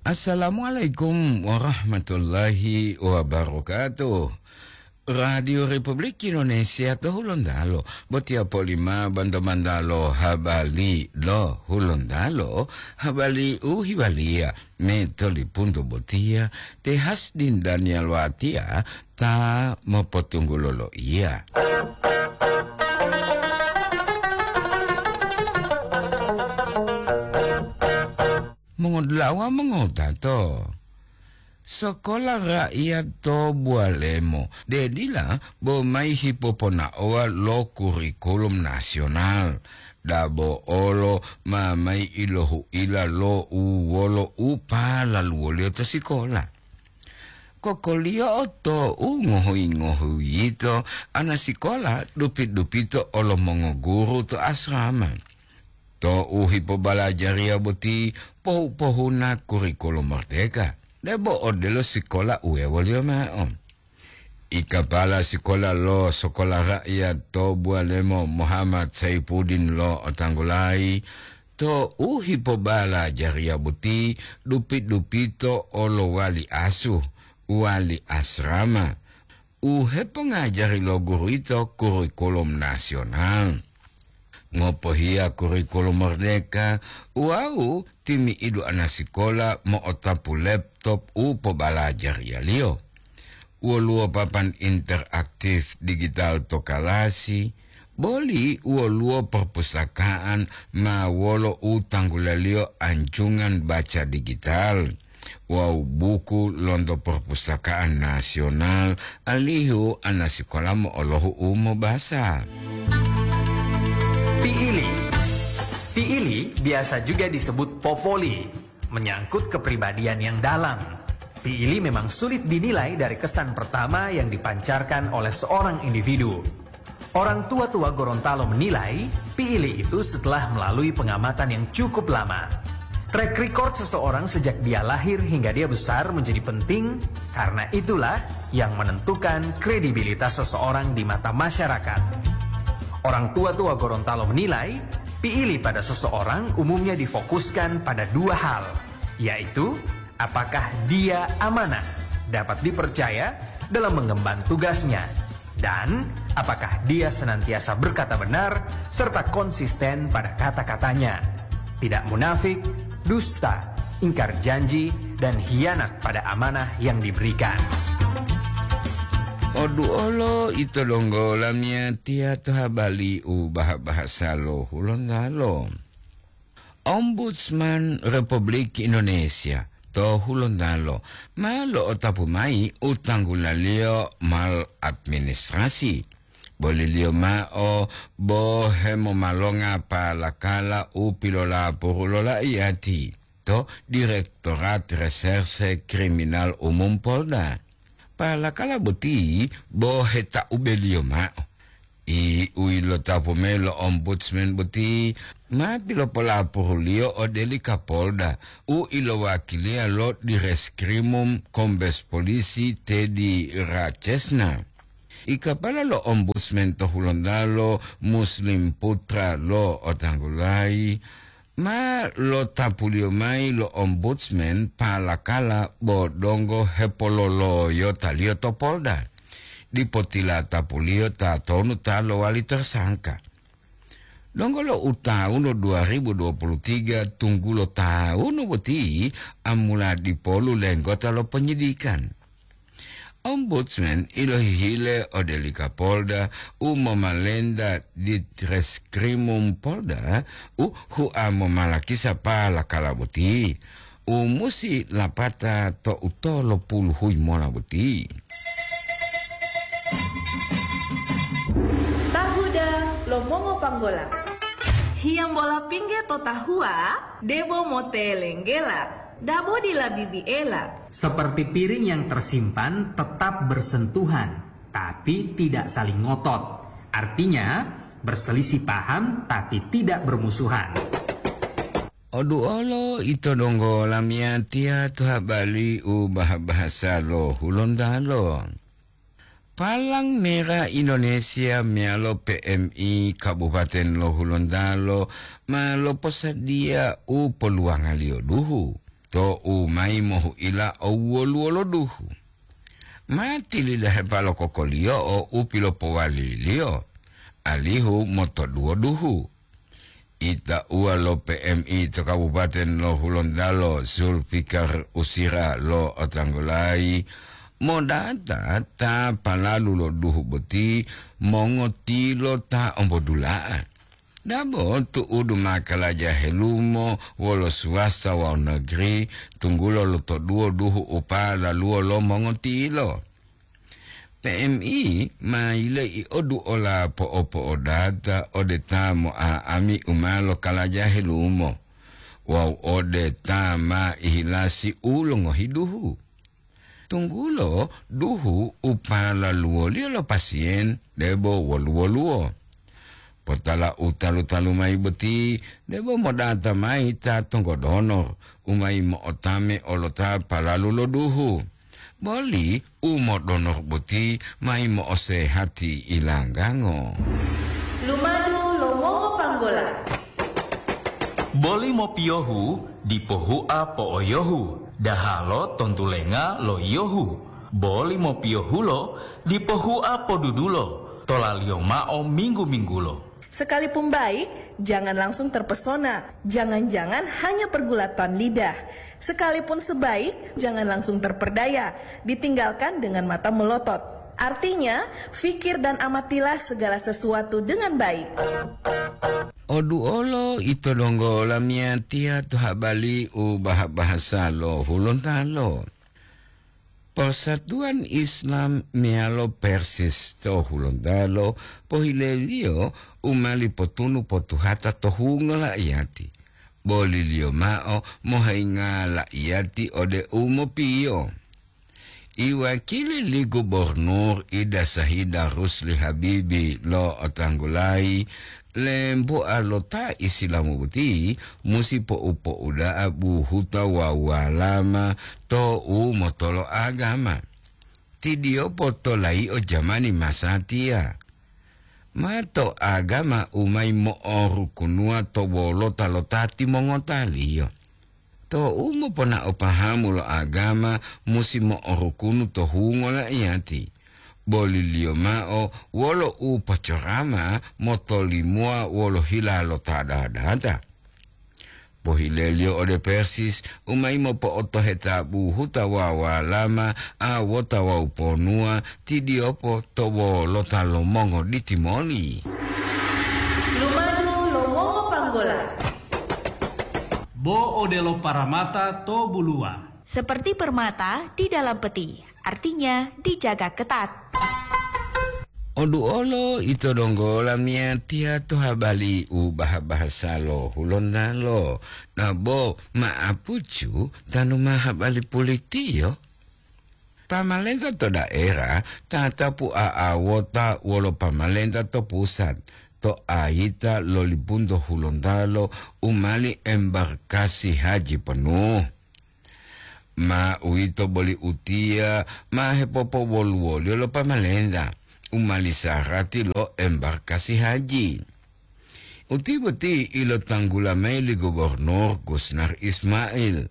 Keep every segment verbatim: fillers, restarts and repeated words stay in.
Assalamualaikum warahmatullahi wabarakatuh. Radio Republik Indonesia to Hulontalo, botiya polima banto-bantalo habali lo Hulontalo, habali u hiwaliya me tolipunto botiya, te Hasdin Daniel Watia ta mopotunggulo loiya. Mongodula'a wawu mongotato, Sekolah Rakyat to Bualemo, de dila bo mayi hipoponaowa lo kurikulum nasional, dabo olo ma mayi ilohuila lo u wolo u palaluwoliyo to sikola. Kokoliyo'o tou ngohuyi-ngohuyi yito, ana sikola dupi-dupito olo mongoguru to asrama. Tou hipobalajariya boti pohu-pohuna kurikulum merdeka, debo odelo sikola u wewoliyo ma'o. I kapala sikola lo Sekolah Rakyat to Bualemo, Muhammad Saipuddin lo otanggulayi, tou hipobalajariya boti dupi-dupito olo wali asuh, wali asrama, u hepongajari lo guru yito kurikulum nasional. Ngopohiya kurikulum merdeka wawu timi'idu ana sikola mo'otapu laptop u pobalajariyaliyo. Woluwo papan interaktif digital to kalasi, boli woluwo perpustakaan ma wolo u tanggulaliyo anjungan baca digital wawu buku lonto perpustakaan nasional, alihu ana sikola mo'olohu u mobasa. Piili. Piili biasa juga disebut popoli, menyangkut kepribadian yang dalam. Piili memang sulit dinilai dari kesan pertama yang dipancarkan oleh seorang individu. Orang tua-tua Gorontalo menilai, piili itu setelah melalui pengamatan yang cukup lama. Track record seseorang sejak dia lahir hingga dia besar menjadi penting, karena itulah yang menentukan kredibilitas seseorang di mata masyarakat. Orang tua-tua Gorontalo menilai, piili pada seseorang umumnya difokuskan pada dua hal, yaitu apakah dia amanah, dapat dipercaya dalam mengemban tugasnya, dan apakah dia senantiasa berkata benar serta konsisten pada kata-katanya, tidak munafik, dusta, ingkar janji, dan hianat pada amanah yang diberikan. Oduolo ito donggo lamiyatiya to habali u baha-bahasa lo Hulontalo. Ombudsman Republik Indonesia to Hulontalo ma lo'otapu mayi u tanggulaliyo maladministrasi. Boliliyo ma'o bo hemomalonga palakala u pilolapuru lo la'iyati to Direktorat Reserse Kriminal Umum Polda. Palakala boti bo heta'ubeliyo ma'o. I u ilotapu mayi lo Ombudsman boti ma pilopolapuruliyo ode li Kapolda u ilowakiliya lo Direskrimum Kombes Polisi Teddy Rachesna. I kapala lo Ombudsman to Hulontalo, Muslim Putra lo Otanggulayi, ma lotapuliyo mayi lo Ombudsman palakala bo donggo hepololoyotaliyo to Polda. Dipo tilatapuliyo tatonu ta lowali tersangka. Donggo lo u tawunu dua ribu dua puluh tiga tunggulo tawunu boti amula dipolu lenggota lo penyidikan. Ombudsman ilohihile ode li Kapolda u momalenta Ditreskrimum Polda u hua momalakisa palakala boti u musi lapata to utolo puluhuyi mola boti. Tahuda lo mongopanggola. Hiyambola pingge to tahuwa, debo motelenggela, dabo dila bibiela. Seperti piring yang tersimpan tetap bersentuhan, tapi tidak saling ngotot. Artinya, berselisih paham tapi tidak bermusuhan. Oduolo ito donggo lamiyatiya to habali u baha-bahasa lo Hulontalo. Palang Merah Indonesia meyalo P M I Kabupaten lo Hulontalo ma loposadiya u poluwangaliyo duhu. to'u mayi mohu'ila owoluwo lo duhu. Ma tilidahepa lo kokoliyo'o u pilopowaliliyo, alihu motoduwo duhu. Itauwa lo P M I to Kabupaten lo Hulontalo, Zulfikar Usira lo otanggulayi, modata ta palalu lo duhu boti mongotilo ta ombodula'a. Dabo tu'udu makalaja helumo wolo swasta wawu negeri, tunggulo lotoduwo duhu u palaluwo lo mongotilo. P M I ma yile'i oduola po'opo'odata ode ta mo'a'ami u ma lokalaja helumo, wawu ode ta ma ihilasi u longohi duhu. Tunggulo duhu u palaluwoliyo lo pasiyen debo woluwo-luwo. Potala u talu-talu mayi boti, debo modata mayi ta tonggodonor u mayi mo'otame olo ta palalu lo duhu. Boli u modonor boti mayi mo'osehati ilanggango. Lumadu lo mongopanggola. Boli mopiyohu dipo hua po'oyohu, dahalo tontulenga lo yiyohu. Boli mopiyohulo dipo hua podudulo, tolaliyo mao minggu-minggulo. Sekalipun baik, jangan langsung terpesona. Jangan-jangan hanya pergulatan lidah. Sekalipun sebaik, jangan langsung terperdaya. Ditinggalkan dengan mata melotot. Artinya, fikir dan amatilah segala sesuatu dengan baik. Oduolo ito donggo lamiyatiya to habali u baha-bahasa lo Hulontalo. Persatuan Islam meyalo Persis to Hulontalo pohileliyo u mali potunu potuhata to hungo la'iyati. Boliliyo mao mohayinga la'iyati ode u mopiyo. Iwakili li Gubernur Ida Sahida Rusli Habibi lo'otanggulayi, lemboa lo ta Isilamu boti musi po'u-po'uda'a buhuta wawu walama to u motolo agama. Tidiyopo to layi'o jamani masatiya. Ma to agama u mayi mo'orukunuwa to wolota lo ta timongotaliyo. To u moponao pahamu lo agama musi mo'orukunu to hungo la'iyati, boliliyo mao wolo u pocorama motolimowa wolo hila lo ta dadata. Pohileliyo ode Persis u mayi mopo'otoheta buhuta wawu walama, awota wawu ponuwa, tidiyopo to wolota lo mongoditi moli. Lumadu lo mongopanggola. Bo odelo paramata to buluwa. Seperti permata di dalam peti, artinya dijaga ketat. Oduolo ito donggo lamiyatiya to habali u baha-bahasa lo Hulontalo, nabo ma'apucu tanu ma habali pulitiyo. Pamalenta to daerah tatapu a'awota wolo pamalenta to pusat, to ayita lo libunto Hulontalo u mali embarkasi haji penuh. Ma uwito boli utiya ma hepopowoluwoliyo lo pamalenta u mali sarati lo embarkasi haji. Uti boti ilotanggula mayi li Gubernur Gusnar Ismail,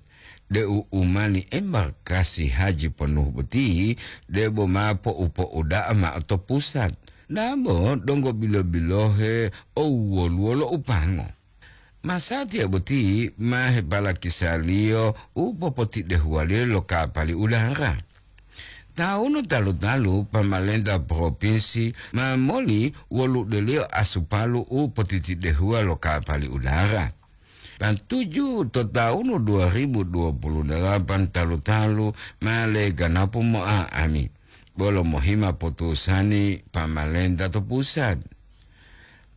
deu u mali embarkasi haji penuh boti debo ma po'u-po'uda'a mao to pusat, dabo donggo bilo-bilohe owoluwo lo upango. Masatiya boti ma hepalakisaliyo u popotidehuwaliyo lo kapali udara. Tawunu talu-talu pamalenta propinsi ma moli woludeliyo asupalu u potitidehuwa lo kapali udara. Patuju to tawunu dua ribu dua puluh delapan talu-talu ma leganapu mo'a'ami, bolo mohima potusani pamalenta to pusat.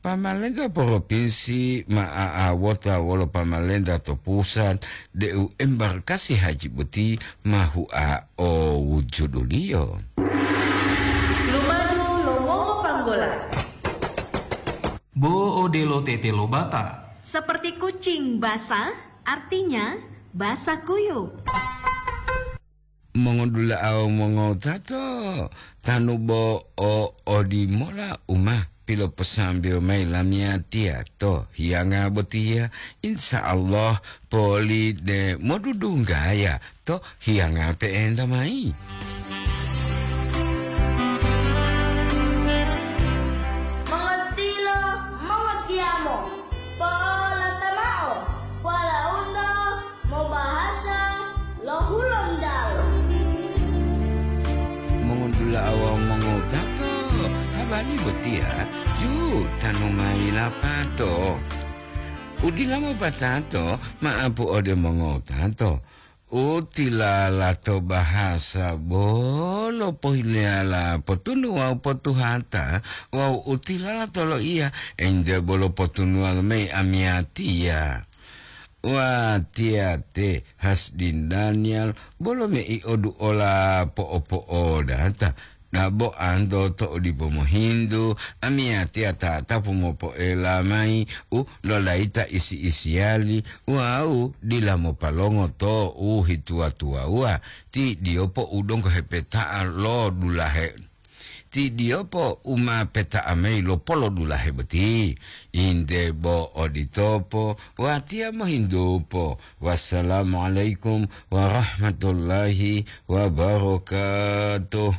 Pamalenta propinsi ma a'awota wolo pamalenta to pusat deu embarkasi haji boti ma hua o wujuduliyo. Lumadu lo mongopanggola. Bo odelo tete lo bata. Seperti kucing basah, artinya basah kuyup. Mongodula'a wawu mongotato, tanu bo o odimola uma piloposambewo mayi lamiyatiya to hiyanga botiya, insya Allah poli de modudunggaya to hiyanga pe'enta mayi. Mongotilo, mongotiyamo, polata mao, walaundo mobahasa lo Hulontalo. Mongodula'a wawu mongowutato, habari botiya ju tanu mayi lapato. Udila mopatato ma'apu ode mongowutato. U tilala to bahasa bolo pohileyala potunu wawu potuhata, wawu u tilala to loiya ente bolo potunuwa mayi amiyatiya. Watiya te Hasdin Daniel bolo mei'odu'ola po'opo'odata. Dabo anto to dipo mohintu, amiyatiya tatapu mopoela mayi u lolayita isi-isiyali wawu dila mopalongo to u hituwa-tuwawuwa, ti diyopo u donggo hepeta'a lo dulahe. Ti diyopo u ma peta'a mayi lo polodulahe boti. Inde bo oditopo, watiya mohintupo. Wassalamualaikum warahmatullahi wabarakatuh.